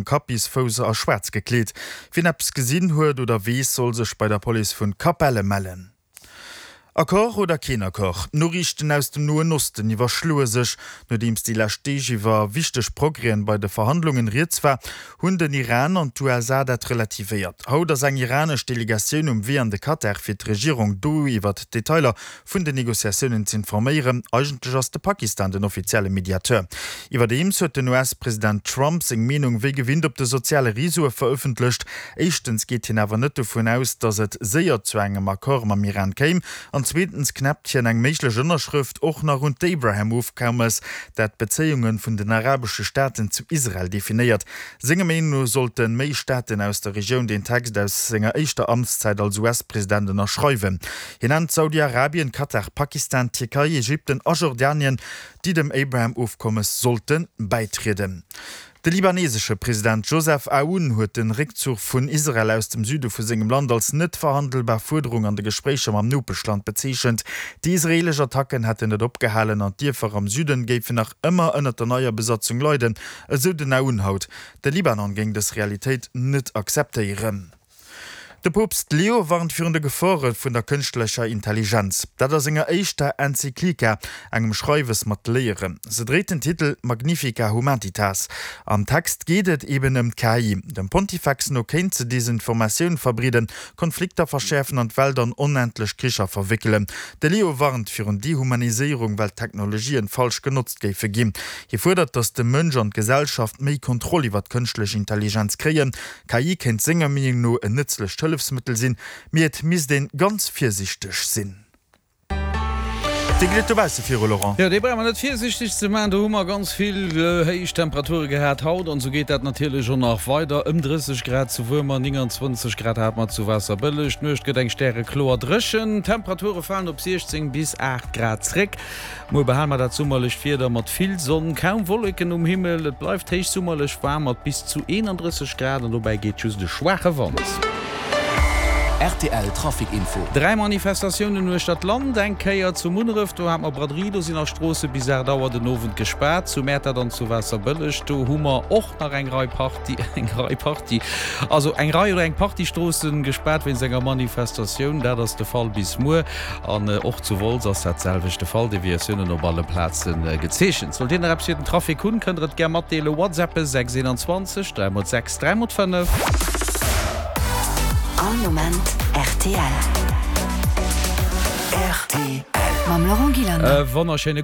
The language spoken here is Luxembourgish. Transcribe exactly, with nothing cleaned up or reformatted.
Kapp bis Fouss a schwaarz gekleet. Wien eppes gesinn huet oder weess, soll sech bei der Police vun Capelle mellen. Accord oder keen Accord? D'Noriichten aus dem Noen Osten iwwerschloe sech. Nodeems déi lescht Deeg iwwer wichteg Progrèsen bei de Verhandlungen rieds war, hunn den Iran an d'USA dat relativéiert. Haut ass eng iranesch Delegatioun um Wee an de Katar fir d'Regierung do iwwert d'Detailer vun den Negociatiounen z'informéieren. Eigentlech ass de Pakistan den offizielle Mediateur. Iwwerdeems huet den US-President Trump seng Meenung wéi gewinnt op de soziale Reseaue verëffentlecht. Éischtens geet hien awer net dovun aus, datt et séier zu engem Accord mam Iran kéim, an zweetens knäppt hien eng méiglech Ënnerschrëft och nach un d'Abraham-Ofkommes, dat d'Bezéiunge vun den arabesche Staaten zu Israel definéiert. Senger Meenung no sollte méi Staaten aus der Regioun den Text aus senger éischter Amtszäit als US-President ënnerschreiwen. Hien nennt Saudi-Arabien, Katar, Pakistan, Tierkei, Ägypten a Jordanien, déi dem Abraham-Ofkommes sollte bäitrieden. De libanesesche President Joseph Aoun huet de Réckzuch vun Israel aus dem Süde vu sengem Land als net verhandelbar Fuerderung an de Gespréicher mam Nopeschland bezeechent. Déi israeelesch Attacken hätten net opgehalen an d'Dierfer am Süden géifen nach ëmmer ënnert der neier Besatzung leiden, esou den Aoun haut. De Libanon géing dës Realitéit net akzeptéieren. De Poopst Leo warnt virun de Gefore vun der kënschtlecher Intelligenz. Dat a senger éischter Enzyklika, engem Schreiwes mat Léieren. Se dréit den Titel Magnifica Humanitas. Am Text geet et eben ëm d'KI. Dem Pontifex no kéint se Desinformatioun verbreeden, Konflikter verschäerfen an d'Welt an onendlech Kricher verwéckelen. De Leo warnt virun Dehumaniséierung, well d'Technologien falsch genotzt géife ginn. Hie fuerdert, datt de Mënsch an d'Gesellschaft méi Kontroll iwwer d'kënschtlech Intelligenz kréien. K I kéint senger Meenung no en nëtzlecht Hëllefsmëttel sinn, mee et misst een ganz virsiichteg sinn. Wéi geet et dobausse viru, Laurent? Jo, dee brauch mer net virsiichteg ze maachen. Do hu mer ganz vill héich Temperature gehat haut an esou geet dat natierlech och nach weider. Ëm drësseg Grad zu Wuermer, nénganzwanzeg Grad hate mer zu Waasserbëlleg. D'Nuecht gëtt eng stärekloer dréchen. D'Temperature falen op siechzéng bis aacht Grad zréck. Muer behale mer dat summerlecht Wieder mat vill Sonn, kaum Wolleken um Himmel. Et bleift héichsummerlech waarm mat bis zu eenandrësseg Grad an dobäi geet just e schwaache Wand. Rtl Trafic Info. Dräi Manifestatiounen uechter d'Land, eng Kéier zu Munneref, do hat mer Braderie, do sinn nach Stroosse bis aacht Auer den Owend gespaart. Zu Mäertert an zu Waasserbëlleg, do hu mer och nach eng Rei Partie, eng Rei Partie, also eng Rei oder eng Partie Stroosse gespaart wéinst enger Manifestatioun. Dat ass de Fall bis muer. An och zu Wolz ass dat selwecht de Fall, Deviatiounen op alle Plaze gezeechent. Sollt Dir nach eppes fir den Trafic hunn, kënnt der et gär matdeelen, WhatsAppe sechs eenanzwanzeg dräi mol sechs dräi mol fënnef. All Moment rtl. Mam Laurent Gillander. E wonnerschéine.